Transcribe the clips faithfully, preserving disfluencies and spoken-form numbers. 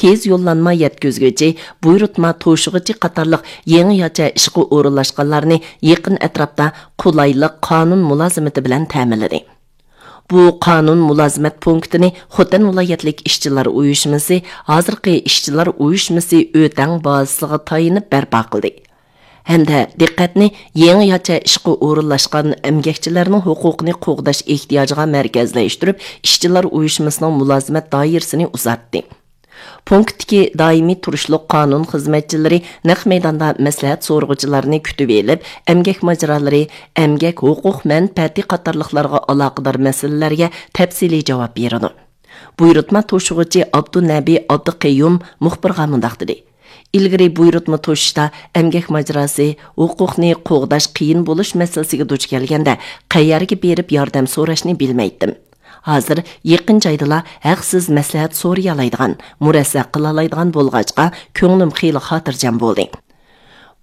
تېز يوللانما يەتكۈزگۈچى، بۇيرۇتما توشۇغۇچى قاتارلىق يېڭىچە ئىشقا ئورۇنلاشقانلارنى يېقىن ئەتراپتا قولايلىق قانۇن مۇلازىمىتى بىلەن تەمىنلىدى. بۇ قانۇن مۇلازىمەت پونكىتىنى خوتەن ۋىلايەتلىك ئىشچىلار ئۇيۇشمىسى، ھازىرقى ئىشچىلار ئۇيۇشمىسى ئۆتەڭ بازىسىغا تايىنىپ بەرپا قىلدى. ھەمدە دىققەتنى يېڭىچە ئىشقا ئورۇنلاشقان ئەمگەكچىلەرنىڭ ھوقۇقىنى قوغداش ئېھتىياجىغا مەركەزلەشتۈرۈپ، ئىشچىلار ئۇيۇشمىسىنىڭ مۇلازىمەت دائىرىسىنى ئۇزارتتى. پونكىتتىكى دائىمىي تۇرۇشلۇق قانۇن خىزمەتچىلىرى نەق مەيداندا مەسلىھەت سورىغۇچىلارنى كۈتۈۋېلىپ، ئەمگەك ماجىرالىرى، ئەمگەك ھوقۇق مەنپەئەتى قاتارلىقلارغا ئالاقىدار مەسىلىلەرگە تەپسىلىي جاۋاب بېرىدۇ. بۇيرۇتما توشۇغۇچى ئابدۇنەبى ئابدۇقەييۇم مۇخبىرغا مۇنداق دېدى: ئىلگىرى بۇيرۇتما توشۇشتا ئەمگەك ماجىراسى، ھوقۇقنى قوغداش قىيىن بولۇش مەسىلىسىگە دۇچ كەلگەندە، قەيەرگە بېرىپ ياردەم سوراشنى بىلمەيتتىم. ھازىر يېقىن جايدىلا ھەقسىز مەسلىھەت سورىيالايدىغان، مۇرەسسە قىلالايدىغان بولغاچقا، كۆڭلۈم خېلى خاتىرجەم بولدى.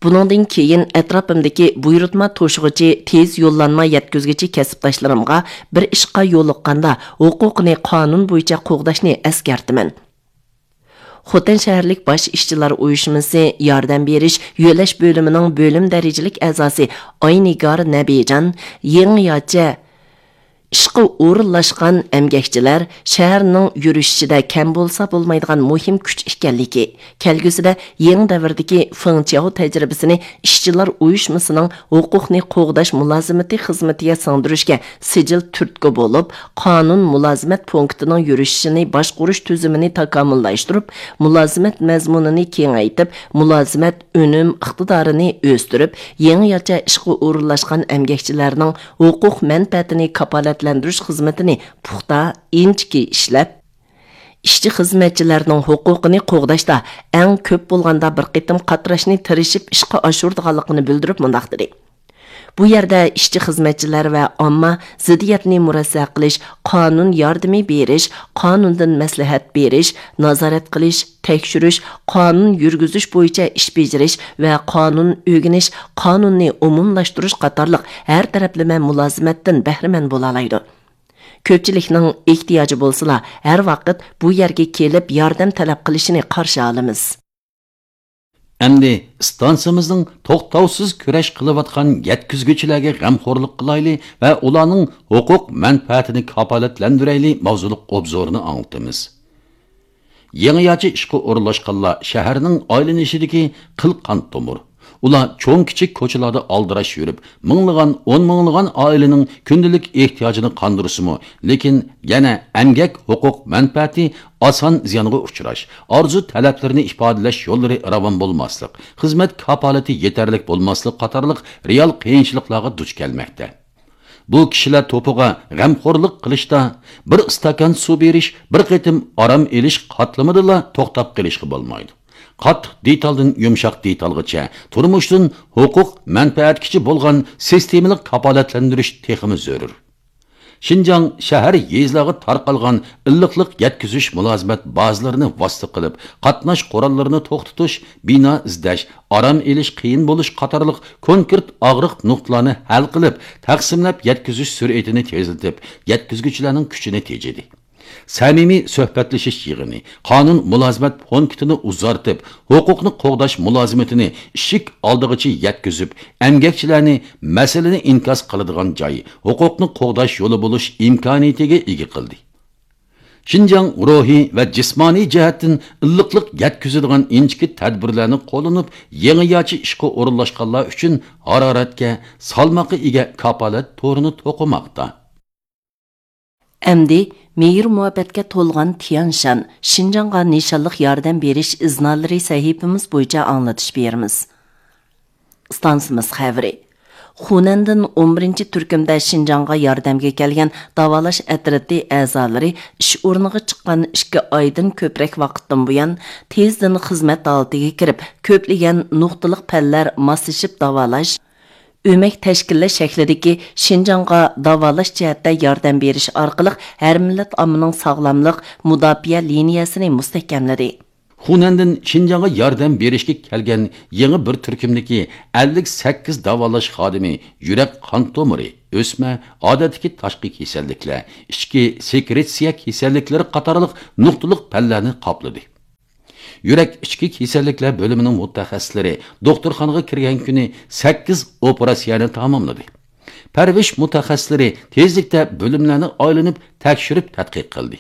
بۇنىڭدىن كېيىن ئەتراپىمدىكى بۇيرۇتما توشۇغۇچى، تېز يوللانما يەتكۈزگۈچى كەسىپداشلىرىمغا بىر ئىشقا يولۇققاندا ھوقۇقىنى قانۇن بويىچە قوغداشنى ئەسكەرتىمەن. خوتەن شەھەرلىك باش ئىشچىلار ئۇيۇشمىسى ياردەم بېرىش يۆلەش بۆلۈمىنىڭ بۆلۈم دەرىجىلىك ئەزاسى ئاينىگار نەبىجان يېڭىچە ئىشقا ئورۇنلاشقان ئەمگەكچىلەر شەھەرنىڭ يۈرۈشۈشىدە كەم بولسا بولمايدىغان مۇھىم كۈچ ئىكەنلىكى، كەلگۈسىدە يېڭى دەۋردىكى فېڭچياۋ تەجرىبىسىنى ئىشچىلار ئۇيۇشمىسىنىڭ ھوقۇقنى قوغداش مۇلازىمىتى خىزمىتىگە سىڭدۈرۈشكە سىجىل تۈرتكە بولۇپ، قانۇن مۇلازىمەت پونكىتىنىڭ يۈرۈشۈشىنى باشقۇرۇش تۈزۈمىنى تاكامۇللاشتۇرۇپ، مۇلازىمەت مەزمۇنىنى كېڭەيتىپ، مۇلازىمەت ئۈنۈم ئىقتىدارىنى ئۆستۈرۈپ، يېڭىچە ئىشقا ئورۇنلاشقان ئەمگەكچىلەرنىڭ ھوقۇق مەنپەئەتىنى كاپالەتلەندۈرۈش خىزمىتىنى پۇختا، ئىنچىكە ئىشلەپ، ئىشچى خىزمەتچىلەرنىڭ ھوقۇقىنى قوغداشتا ئەڭ كۆپ بولغاندا بىر قېتىم قاتراشنى تىرىشىپ ئىشقا ئاشۇرىدىغانلىقىنى بىلدۈرۈپ مۇنداق دېدى: بۇ يەردە ئىشچى خىزمەتچىلەر ۋە ئامما زىددىيەتنى مۇرەسسە قىلىش، قانۇن ياردىمى بېرىش، قانۇندىن مەسلىھەت بېرىش، نازارەت قىلىش، تەكشۈرۈش، قانۇن يۈرگۈزۈش بويىچە ئىش بېجىرىش ۋە قانۇن ئۆگىنىش، قانۇننى ئومۇملاشتۇرۇش قاتارلىق ھەر تەرەپلىمە مۇلازىمەتتىن بەھرىمەن بولالايدۇ. كۆپچىلىكنىڭ ئېھتىياجى بولسىلا، ھەر ۋاقىت بۇ يەرگە كېلىپ ياردەم تەلەپ قىلىشىنى قارشى ئالىمىز. ئەمدى ئىستانسىمىزنىڭ توختاۋسىز كۈرەش قىلىۋاتقان يەتكۈزگۈچىلەرگە غەمخورلۇق قىلايلى ۋە ئۇلارنىڭ ھوقۇق مەنپەئەتىنى كاپالەتلەندۈرەيلى ماۋزۇلۇق ئوبزورنى ئاڭلىتىمىز. يېڭىچە ئىشقا ئورۇنلاشقانلار شەھەرنىڭ ئايلىنىشىدىكى قىل قان تومۇر. ئۇلار چوڭ كىچىك كوچىلاردا ئالدىراش يۈرۈپ، مىڭلىغان، ئون مىڭلىغان ئائىلىنىڭ كۈندىلىك ئېھتىياجىنى قاندۇرسىمۇ، لېكىن يەنە ئەمگەك ھوقۇق مەنپەئەتى ئاسان زىيانغا ئۇچراش، ئارزۇ تەلەپلىرىنى ئىپادىلەش يوللىرى راۋان بولماسلىق، خىزمەت كاپالىتى يېتەرلىك بولماسلىق قاتارلىق رېئال قىيىنچىلىقلارغا دۇچ كەلمەكتە. بۇ كىشىلەر توپىغا غەمخورلۇق قىلىشتا بىر ئىستاكان سۇ بېرىش، بىر قېتىم ئارام ئېلىش قاتلىمىدىلا توختاپ قېلىشقا بولمايدۇ. قاتتىق دېتالدىن يۇمشاق دېتالغىچە تۇرمۇشتىن ھوقۇق مەنپەئەتكىچە بولغان سىستېمىلىق كاپالەتلەندۈرۈش تېخىمۇ زۆرۈر. شىنجاڭ شەھەر، يېزىلارغا تارقالغان ئىللىقلىق يەتكۈزۈش مۇلازىمەت بازىلىرىنى ۋاسىتە قىلىپ، قاتناش قوراللىرىنى توختىتىش، بىنا ئىزدەش، ئارام ئېلىش قىيىن بولۇش قاتارلىق كونكرېت ئاغرىق نۇقتىلارنى ھەل قىلىپ، تەقسىملەپ يەتكۈزۈش سۈرئىتىنى تېزلىتىپ، يەتكۈزگۈچىلەرنىڭ كۈچىنى تېجىدى. سەمىمىي سۆھبەتلىشىش يىغىنى، قانۇن مۇلازىمەت پونكىتىنى ئۇزارتىپ، ھوقۇقنى قوغداش مۇلازىمىتىنى ئىشىك ئالدىغىچە يەتكۈزۈپ، ئەمگەكچىلەرنى مەسىلىنى ئىنكاس قىلىدىغان جاي، ھوقۇقنى قوغداش يولى بولۇش ئىمكانىيىتىگە ئىگە قىلدى. شىنجاڭ روھىي ۋە جىسمانىي جەھەتتىن ئىللىقلىق يەتكۈزىدىغان ئىنچىكە تەدبىرلەرنى قوللىنىپ، يېڭىچە ئىشقا ئورۇنلاشقانلار ئۈچۈن ھارارەتكە، سالماققا ئىگە كاپالەت تورىنى توقۇماقتا. ئەمدى مېھىر-مۇھەببەتكە تولغان تيەنشان، شىنجاڭغا نىشانلىق ياردەم بېرىش ئىزنالىرى سەھىپىمىز بويىچە ئاڭلىتىش بېرىمىز. ئىستانسىمىز خەۋىرى. خۇنەندىن ئون بىرىنچى تۈركۈمدە شىنجاڭغا ياردەمگە كەلگەن داۋالاش ئەترىتى ئەزالىرى ئىش ئورنىغا چىققان ئىككى ئايدىن كۆپرەك ۋاقىتتىن بۇيان تېزدىن خىزمەت ھالىتىگە كىرىپ، كۆپلىگەن نۇقتىلىق پەنلەر ماسلىشىپ داۋالاش، ئۆمەك تەشكىللەش شەكلىدىكى شىنجاڭغا داۋالاش جەھەتتە ياردەم بېرىش ئارقىلىق ھەر مىللەت ئاممىنىڭ ساغلاملىق مۇداپىئە لىنىيەسىنى مۇستەھكەملىدى. خۇنەندىن شىنجاڭغا ياردەم بېرىشكە كەلگەن يېڭى بىر تۈركۈمدىكى ئەللىك سەككىز داۋالاش خادىمى يۈرەك قان تومۇرى، ئۆسمە، ئادەتتىكى تاشقى كېسەللىكلەر، ئىچكى سېكرېتسىيە كېسەللىكلىرى قاتارلىق نۇقتىلىق پەنلەرنى قاپلىدى. يۈرەك ئىچكى كېسەللىكلەر بۆلۈمىنىڭ مۇتەخەسسىسلىرى دوختۇرخانىغا كىرگەن كۈنى سەككىز ئوپېراتسىيەنى تاماملىدى. پەرۋىش مۇتەخەسسىسلىرى تېزلىكتە بۆلۈملەرنى ئايلىنىپ تەكشۈرۈپ تەتقىق قىلدى.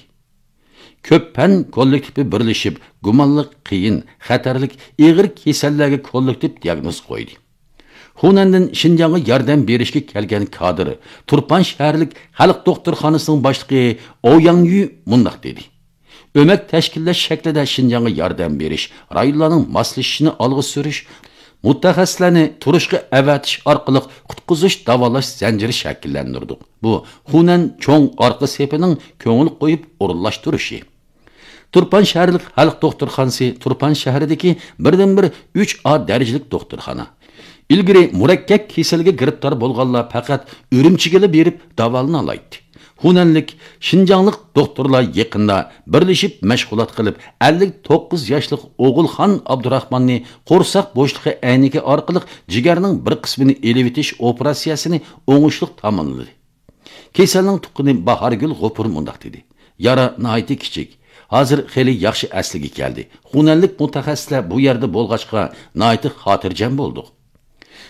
كۆپ پەن كوللېكتىپى بىرلىشىپ، گۇمانلىق، قىيىن، خەتەرلىك، ئېغىر كېسەللەرگە كوللېكتىپ دىياگنوز قويدى. خۇنەندىن شىنجاڭغا ياردەم بېرىشكە كەلگەن كادىر، تۇرپان شەھەرلىك خەلق دوختۇرخانىسىنىڭ باشلىقى ئوۋ ياڭيۈ مۇنداق دېدى: ئۆمەك تەشكىللەش شەكلىدە شىنجاڭغا ياردەم بېرىش، رايونلارنىڭ ماسلىشىشىنى ئالغا سۈرۈش، مۇتەخەسسىسلەرنى تۇرۇشقا ئەۋەتىش ئارقىلىق قۇتقۇزۇش، داۋالاش زەنجىرى شەكىللەندۈردۇق. بۇ خۇنەن چوڭ ئارقا سېپىنىڭ كۆڭۈل قويۇپ ئورۇنلاشتۇرۇشى. تۇرپان شەھەرلىك خەلق دوختۇرخانىسى تۇرپان شەھىرىدىكى بىردىنبىر ئۈچ ئا دەرىجىلىك دوختۇرخانا. ئىلگىرى مۇرەككەپ كېسەلگە گىرىپتار بولغانلار پەقەت ئۈرۈمچىگىلا بېرىپ داۋالىنالايتتى. خۇنەنلىك، شىنجاڭلىق دوختۇرلار يېقىندا بىرلىشىپ مەشغۇلات قىلىپ، ئەللىك توققۇز ياشلىق ئوغۇلخان ئابدۇراخماننى قورساق بوشلۇقى ئەينىكى ئارقىلىق جىگەرنىڭ بىر قىسمىنى ئېلىۋېتىش ئوپېراتسىيەسىنى ئوڭۇشلۇق تاماملىدى. كېسەلنىڭ تۇغقىنى باھارگۈل غوپۇر مۇنداق دېدى: يارا ناھايىتى كىچىك. ھازىر خېلى ياخشى ئەسلىگە كەلدى. خۇنەنلىك مۇتەخەسسىسلەر بۇ يەردە بولغاچقا، ناھايىتى خاتىرجەم بولدۇق.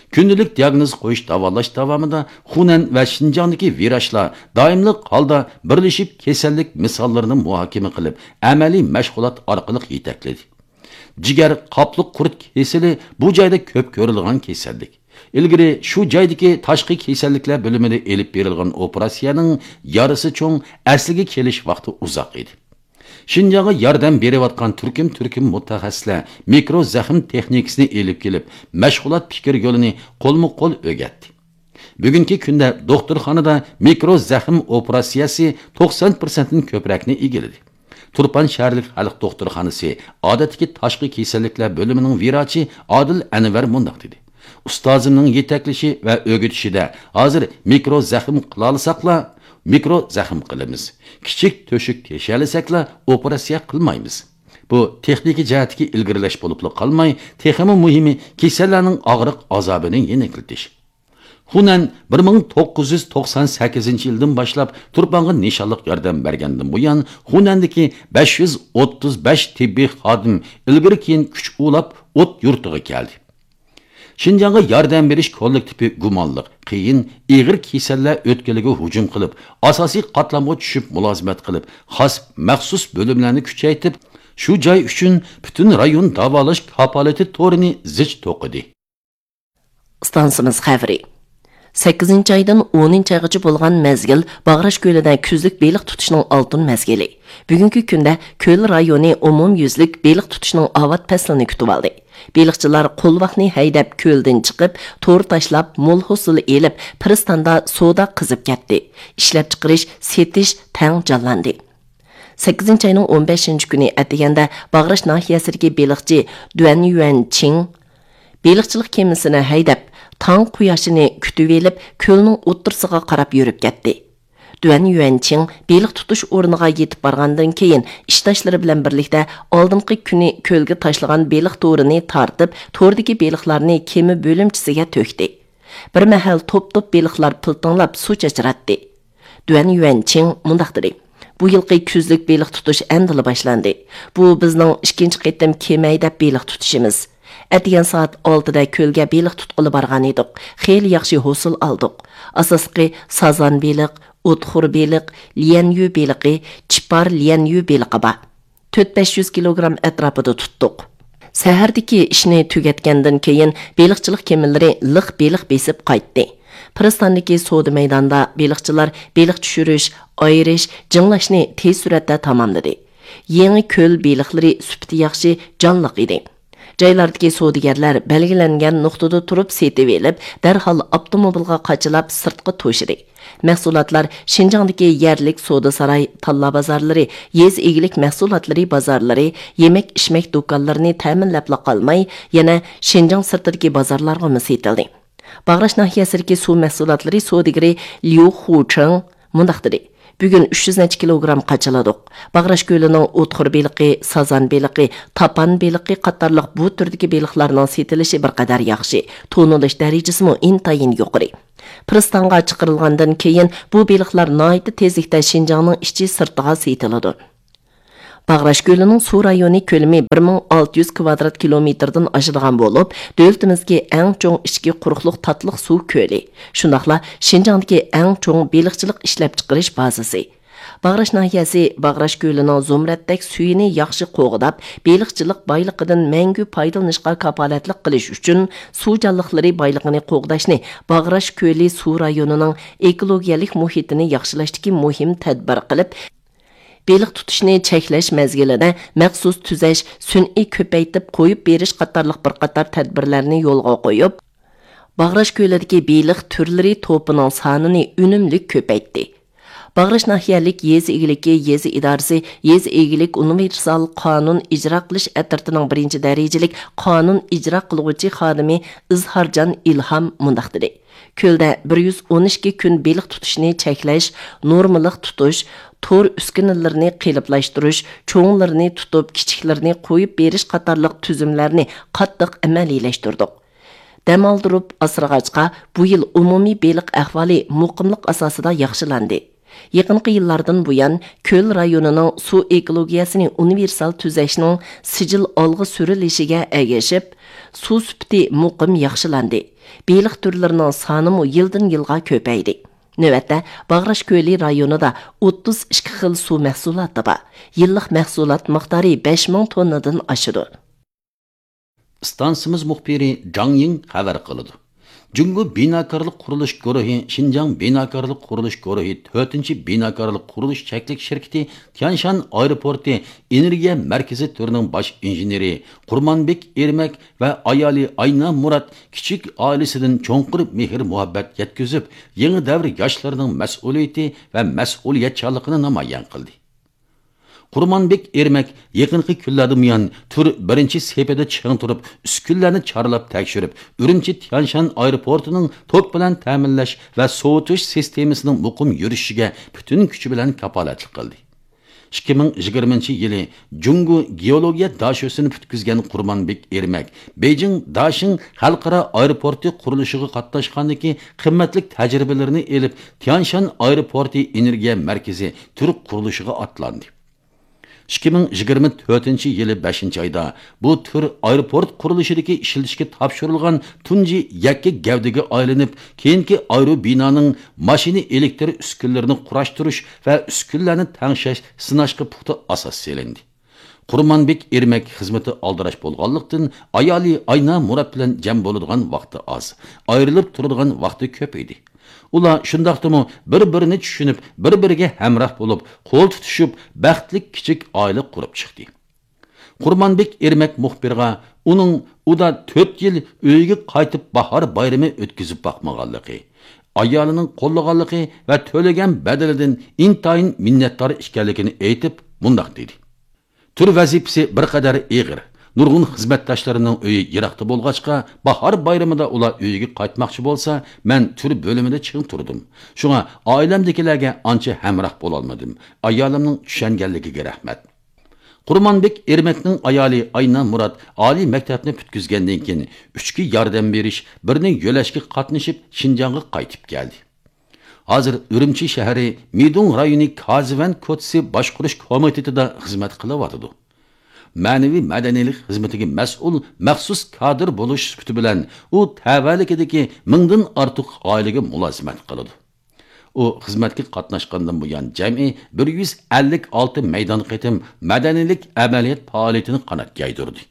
كۈندىلىك دىياگنوز قويۇش، داۋالاش داۋامىدا خۇنەن ۋە شىنجاڭدىكى ۋىراچلار دائىملىق ھالدا بىرلىشىپ كېسەللىك مىساللىرىنى مۇھاكىمە قىلىپ، ئەمەلىي مەشغۇلات ئارقىلىق يېتەكلىدى. جىگەر قاپلىق قۇرت كېسىلى بۇ جايدا كۆپ كۆرۈلىدىغان كېسەللىك. ئىلگىرى شۇ جايدىكى تاشقى كېسەللىكلەر بۆلۈمىدە ئېلىپ بېرىلغان ئوپېراتسىيەنىڭ يارىسى چوڭ، ئەسلىگە كېلىش ۋاقتى ئۇزاق ئىدى. شىنجاڭغا ياردەم بېرىۋاتقان تۈركۈم-تۈركۈم مۇتەخەسسىسلەر مىكرو زەخىم تېخنىكىسىنى ئېلىپ كېلىپ، مەشغۇلات پىكىر يولىنى قولمۇ قول ئۆگەتتى. بۈگۈنكى كۈندە دوختۇرخانىدا مىكرو زەخىم ئوپېراتسىيەسى توقسان پىرسەنتتىن كۆپرەكنى ئىگىلىدى. تۇرپان شەھەرلىك خەلق دوختۇرخانىسى ئادەتتىكى تاشقى كېسەللىكلەر بۆلۈمىنىڭ ۋىراچى ئادىل ئەنۋەر مۇنداق دېدى: ئۇستازىمنىڭ يېتەكلىشى ۋە ئۆگىتىشىدە ھازىر مىكرو زەخىم قىلالىساقلا، مىكرو زەخىم قىلىمىز. كىچىك تۆشۈك تېشىيەلىسەكلا، ئوپېراتسىيە قىلمايمىز. بۇ تېخنىكا جەھەتتىكى ئىلگىرىلەش بولۇپلا قالماي، تېخىمۇ مۇھىمى، كېسەللەرنىڭ ئاغرىق ئازابىنى يېنىكلىتىش. خۇنەن بىر مىڭ توققۇز يۈز توقسان سەككىزىنچى يىلدىن باشلاپ تۇرپانغا نىشانلىق ياردەم بەرگەندىن بۇيان، خۇنەندىكى بەش يۈز ئوتتۇز بەش تېببىي خادىم ئىلگىرى كېيىن كۈچ ئۇلاپ ئوت يۇرتىغا كەلدى. شىنجاڭغا ياردەم بېرىش كوللېكتىپى گۇمانلىق، قىيىن، ئېغىر كېسەللەر ئۆتكىلىگە ھۇجۇم قىلىپ، ئاساسىي قاتلامغا چۈشۈپ مۇلازىمەت قىلىپ، خاس مەخسۇس بۆلۈملەرنى كۈچەيتىپ، شۇ جاي ئۈچۈن پۈتۈن رايون داۋالاش كاپالىتى تورىنى زىچ توقۇدى. ئىستانسىمىز خەۋىرى. سەككىزىنچى ئايدىن ئونىنچى ئايغىچە بولغان مەزگىل باغراش كۆلىدە كۈزلۈك بېلىق تۇتۇشنىڭ ئالتۇن مەزگىلى. بۈگۈنكى كۈندە كۆل رايونى ئومۇميۈزلۈك بېلىق تۇتۇشنىڭ ئاۋات پەسلىنى كۈتۈۋالدى. بېلىقچىلار قولۋاقنى ھەيدەپ، كۆلدىن چىقىپ، تور تاشلاپ، مول ھوسۇل ئېلىپ، پىرىستاندا سودا قىزىپ كەتتى. ئىشلەپچىقىرىش، سېتىش تەڭ جانلاندى. سەككىزىنچى ئاينىڭ ئون بەشىنچى كۈنى ئەتىگەندە باغراش ناھىيەسىدىكى بېلىقچى دۈەن يۈەن چىڭ بېلىقچىلىق كېمىسىنى ھەيدەپ، تاڭ قۇياشىنى كۈتۈۋېلىپ، كۆلنىڭ ئوتتۇرىسىغا قاراپ يۈرۈپ كەتتى. دۈەن يۈەن چىڭ بېلىق تۇتۇش ئورنىغا يېتىپ بارغاندىن كېيىن، ئىشداشلىرى بىلەن بىرلىكتە ئالدىنقى كۈنى كۆلگە تاشلىغان بېلىق تورىنى تارتىپ، توردىكى بېلىقلارنى كېمە بۆلۈمچىسىگە تۆكتى. بىر مەھەل توپ-توپ بېلىقلار پىلتىڭلاپ سۇ چاچراتتى. دۈەن يۈەن چىڭ مۇنداق دېدى: بۇ يىلقى كۈزلۈك بېلىق تۇتۇش ئەمدىلا باشلاندى. بۇ بىزنىڭ ئىككىنچى قېتىم كېمە ھەيدەپ بېلىق تۇتۇشىمىز. ئەتىگەن سائەت ئالتىدە كۆلگە بېلىق تۇتقىلى بارغانىدۇق. خېلى ياخشى ھوسۇل ئالدۇق. ئاساسلىقى سازان بېلىق، ئوتخور بېلىق، ليەنيۈ بېلىقى، چىپار ليەنيۈ بېلىقى بار. تۆت بەش يۈز كىلوگرام ئەتراپىدا تۇتتۇق. سەھەردىكى ئىشنى تۈگەتكەندىن كېيىن، بېلىقچىلىق كېمىلىرى لىق بېلىق بېسىپ قايتتى. پىرىستاندىكى سودا مەيدانىدا بېلىقچىلار بېلىق چۈشۈرۈش، ئايرىش، جىڭلاشنى تېز سۈرئەتتە تاماملىدى. يېڭى كۆل بېلىقلىرى سۈپىتى ياخشى، جانلىق ئىدى. جايلاردىكى سودىگەرلەر بەلگىلەنگەن نۇقتىدا تۇرۇپ سېتىۋېلىپ، دەرھال ئاپتوموبىلغا قاچىلاپ سىرتقا توشىدى. مەھسۇلاتلار شىنجاڭدىكى يەرلىك سودا ساراي، تاللا بازارلىرى، يېزا ئىگىلىك مەھسۇلاتلىرى بازارلىرى، يېمەك-ئىچمەك دۇكانلىرىنى تەمىنلەپلا قالماي، يەنە شىنجاڭ سىرتىدىكى بازارلارغىمۇ سېتىلدى. باغراش ناھىيەسىدىكى سۇ مەھسۇلاتلىرى سودىگىرى ليۇ خۇچېڭ مۇنداق دېدى: بۈگۈن ئۈچ يۈز نەچچە كىلوگرام قاچىلىدۇق. باغراش كۆلىنىڭ ئوتخور بېلىقى، سازان بېلىقى، تاپان بېلىقى قاتارلىق بۇ تۈردىكى بېلىقلارنىڭ سېتىلىشى بىر قەدەر ياخشى، تونۇلۇش دەرىجىسىمۇ ئىنتايىن يۇقىرى. پىرىستانغا چىقىرىلغاندىن كېيىن، بۇ بېلىقلار ناھايىتى تېزلىكتە شىنجاڭنىڭ ئىچى سىرتىغا سېتىلىدۇ. باغراش كۆلىنىڭ سۇ رايونى كۆلىمى بىر مىڭ ئالتە يۈز كىۋادرات كىلومېتىردىن ئاشىدىغان بولۇپ، دۆلىتىمىزدىكى ئەڭ چوڭ ئىچكى قۇرۇقلۇق تاتلىق سۇ كۆلى، شۇنداقلا شىنجاڭدىكى ئەڭ چوڭ بېلىقچىلىق ئىشلەپچىقىرىش بازىسى. باغراش ناھىيەسى باغراش كۆلىنىڭ زۇمرەتتەك سۈيىنى ياخشى قوغداپ، بېلىقچىلىق بايلىقىدىن مەڭگۈ پايدىلىنىشقا كاپالەتلىك قىلىش ئۈچۈن، سۇ جانلىقلىرى بايلىقىنى قوغداشنى باغراش كۆلى سۇ رايونىنىڭ ئېكولوگىيەلىك مۇھىتىنى ياخشىلاشتىكى مۇھىم تەدبىر قىلىپ، بېلىق تۇتۇشنى چەكلەش مەزگىلىدە مەخسۇس تۈزەش، سۈنئىي كۆپەيتىپ قويۇپ بېرىش قاتارلىق بىر قاتار تەدبىرلەرنى يولغا قويۇپ، باغراش كۆلىدىكى بېلىق تۈرلىرى توپىنىڭ سانىنى ئۈنۈملۈك كۆپەيتتى. باغراش ناھىيەلىك يېزا ئىگىلىكى يېزا ئىدارىسى يېزا ئىگىلىك ئۇنىۋېرسال قانۇن ئىجرا قىلىش ئەترىتىنىڭ بىرىنچى دەرىجىلىك قانۇن ئىجرا قىلغۇچى خادىمى ئىزھارجان ئىلھام مۇنداق دېدى: كۆلدە بىر يۈز ئون ئىككى كۈن بېلىق تۇتۇشنى چەكلەش، نورمىلىق تۇتۇش، تور ئۈسكۈنىلىرىنى قېلىپلاشتۇرۇش، چوڭلىرىنى تۇتۇپ، كىچىكلىرىنى قويۇپ بېرىش قاتارلىق تۈزۈملەرنى قاتتىق ئەمەلىيلەشتۈردۇق. دەم ئالدۇرۇپ ئاسرىغاچقا، بۇ يىل ئومۇمىي بېلىق ئەھۋالى مۇقىملىق ئاساسىدا ياخشىلاندى. يېقىنقى يىللاردىن بۇيان، كۆل رايونىنىڭ سۇ ئېكولوگىيەسىنى ئۇنىۋېرسال تۈزەشنىڭ سىجىل ئالغا سۈرۈلۈشىگە ئەگىشىپ، سۇ سۈپىتى مۇقىم ياخشىلاندى. بېلىق تۈرلىرىنىڭ سانىمۇ يىلدىن يىلغا كۆپەيدى. نۆۋەتتە، باغراش كۆلى رايونىدا ئوتتۇز ئىككى خىل سۇ مەھسۇلاتى بار. يىللىق مەھسۇلات مىقدارى بەش مىڭ توننىدىن ئاشىدۇ. ئىستانسىمىز مۇخبىرى جاڭ يىڭ خەۋەر قىلىدۇ. جۇڭگو بىناكارلىق قۇرۇلۇش گۇرۇھى شىنجاڭ بىناكارلىق قۇرۇلۇش گۇرۇھى تۆتىنچى بىناكارلىق قۇرۇلۇش چەكلىك شىركىتى تيانشان ئايروپورتى ئېنېرگىيە مەركىزى تۈرىنىڭ باش ئىنژېنېرى قۇرمانبېك ئېرمەك ۋە ئايالى ئاينا مۇرات كىچىك ئائىلىسىدىن چوڭقۇر مېھىر-مۇھەببەت يەتكۈزۈپ، يېڭى دەۋر ياشلىرىنىڭ مەسئۇلىيىتى ۋە مەسئۇلىيەتچانلىقىنى نامايان قىلدى. قۇرمانبېك ئېرمەك يېقىنقى كۈنلەردىن بۇيان تۈر بىرىنچى سېپىدە چىڭ تۇرۇپ، ئۈسكۈنىلەرنى چارلاپ تەكشۈرۈپ، ئۈرۈمچى تيانشان ئايروپورتىنىڭ توك بىلەن تەمىنلەش ۋە سوۋۇتۇش سىستېمىسىنىڭ مۇقىم يۈرۈشۈشىگە پۈتۈن كۈچى بىلەن كاپالەتلىك قىلدى. ئىككى مىڭ يىگىرمىنچى يىلى جۇڭگو گېئولوگىيە داشۆسىنى پۈتكۈزگەن قۇرمانبېك ئېرمەك بېيجىڭ داشىڭ خەلقئارا ئايروپورتى قۇرۇلۇشىغا قاتناشقاندىكى قىممەتلىك تەجرىبىلىرىنى ئېلىپ، تيانشان ئايروپورتى ئېنېرگىيە مەركىزى تۈر قۇرۇلۇشىغا ئاتلاندى. ئىككى مىڭ يىگىرمە تۆتىنچى يىلى بەشىنچى ئايدا بۇ تۈر ئايروپورت قۇرۇلۇشىدىكى ئىشلىتىشكە تاپشۇرۇلغان تۇنجى يەككە گەۋدىگە ئايلىنىپ، كېيىنكى ئايروبىنانىڭ ماشىنا ئېلېكتر ئۈسكۈنىلىرىنى قۇراشتۇرۇش ۋە ئۈسكۈنىلەرنى تەڭشەش، سىناشقا پۇختا ئاساس سېلىندى. قۇرمانبېك ئېرمەك خىزمىتى ئالدىراش بولغانلىقتىن، ئايالى ئاينا مۇرات بىلەن جەم بولىدىغان ۋاقتى ئاز، ئايرىلىپ تۇرىدىغان ۋاقتى كۆپ ئىدى. ئۇلار شۇنداقتىمۇ بىر-بىرىنى چۈشىنىپ، بىر-بىرىگە ھەمراھ بولۇپ، قول تۇتۇشۇپ، بەختلىك كىچىك ئائىلە قۇرۇپ چىقتى. قۇرمانبېك ئېرمەك مۇخبىرغا ئۇنىڭ ئۇدا تۆت يىل ئۆيىگە قايتىپ باھار بايرىمى ئۆتكۈزۈپ باقمىغانلىقى، ئايالىنىڭ قوللىغانلىقى ۋە تۆلىگەن بەدىلىدىن ئىنتايىن مىننەتدار ئىكەنلىكىنى ئېيتىپ، مۇنداق دېدى: تۈر ۋەزىپىسى بىر قەدەر ئېغىر. نۇرغۇن خىزمەتداشلىرىمنىڭ ئۆيى يىراقتا بولغاچقا، باھار بايرىمىدا ئۇلار ئۆيىگە قايتماقچى بولسا، مەن تۈر بۆلۈمىدە چىڭ تۇردۇم. شۇڭا ئائىلەمدىكىلەرگە ئانچە ھەمراھ بولالمىدىم. ئايالىمنىڭ چۈشەنگەنلىكىگە رەھمەت. قۇرمانبېك ئېرمەكنىڭ ئايالى ئاينا مۇرات ئالىي مەكتەپنى پۈتكۈزگەندىن كېيىن، ئۈچكە ياردەم بېرىش، بىرنى يۆلەشكە قاتنىشىپ، شىنجاڭغا قايتىپ كەلدى. ھازىر ئۈرۈمچى شەھىرى مىدۇڭ رايونى كازىۋەن كوچىسى باشقۇرۇش كومىتېتىدا خىزمەت قىلىۋاتىدۇ. مەنىۋى مەدەنىيلىك خىزمىتىگە مەسئۇل مەخسۇس كادىر بولۇش سۈپىتى بىلەن، ئۇ تەۋەلىكىدىكى مىڭدىن ئارتۇق ئائىلىگە مۇلازىمەت قىلىدۇ. ئۇ خىزمەتكە قاتناشقاندىن بۇيان، جەمئىي بىر يۈز ئەللىك ئالتە مەيدان قېتىم مەدەنىيلىك ئەمەلىيەت پائالىيىتىنى قانات يايدۇردى.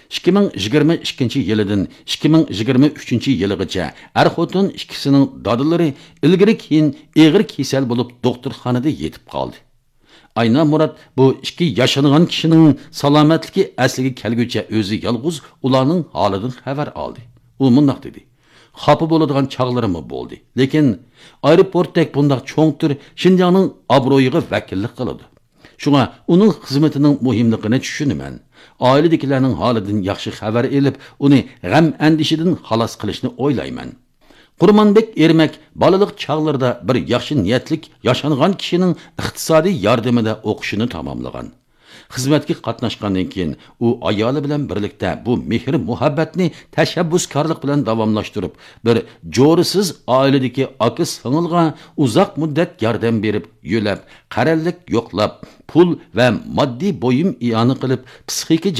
ئىككى مىڭ يىگىرمە ئىككىنچى يىلىدىن ئىككى مىڭ يىگىرمە ئۈچىنچى يىلىغىچە ئەر-خوتۇن ئىككىسىنىڭ دادىلىرى ئىلگىرى كېيىن ئېغىر كېسەل بولۇپ، دوختۇرخانىدا يېتىپ قالدى. ئاينا مۇرات بۇ ئىككى ياشانغان كىشىنىڭ سالامەتلىكى ئەسلىگە كەلگۈچە ئۆزى يالغۇز ئۇلارنىڭ ھالىدىن خەۋەر ئالدى. ئۇ مۇنداق دېدى: خاپا بولىدىغان چاغلىرىممۇ بولدى، لېكىن ئايروپورتتەك بۇنداق چوڭ تۈر شىنجاڭنىڭ ئابرۇيىغا ۋەكىللىك قىلىدۇ. شۇڭا ئۇنىڭ خىزمىتىنىڭ مۇھىملىقىنى چۈشىنىمەن. ئائىلىدىكىلەرنىڭ ھالىدىن ياخشى خەۋەر ئېلىپ، ئۇنى غەم-ئەندىشىدىن خالاس قىلىشنى ئويلايمەن. قۇرمانبېك ئېرمەك بالىلىق چاغلىرىدا بىر ياخشى نىيەتلىك ياشانغان كىشىنىڭ ئىقتىسادىي ياردىمىدە ئوقۇشىنى تاماملىغان. خىزمەتكە قاتناشقاندىن كېيىن، ئۇ ئايالى بىلەن بىرلىكتە بۇ مېھىر-مۇھەببەتنى تەشەببۇسكارلىق بىلەن داۋاملاشتۇرۇپ، بىر جورىسىز ئائىلىدىكى ئاكا-سىڭىلغا ئۇزاق مۇددەت ياردەم بېرىپ، يۆلەپ، قەرەللىك يوقلاپ، پۇل ۋە ماددىي بۇيۇم ئىئانە قىلىپ، پسىخىكا جەھەتتە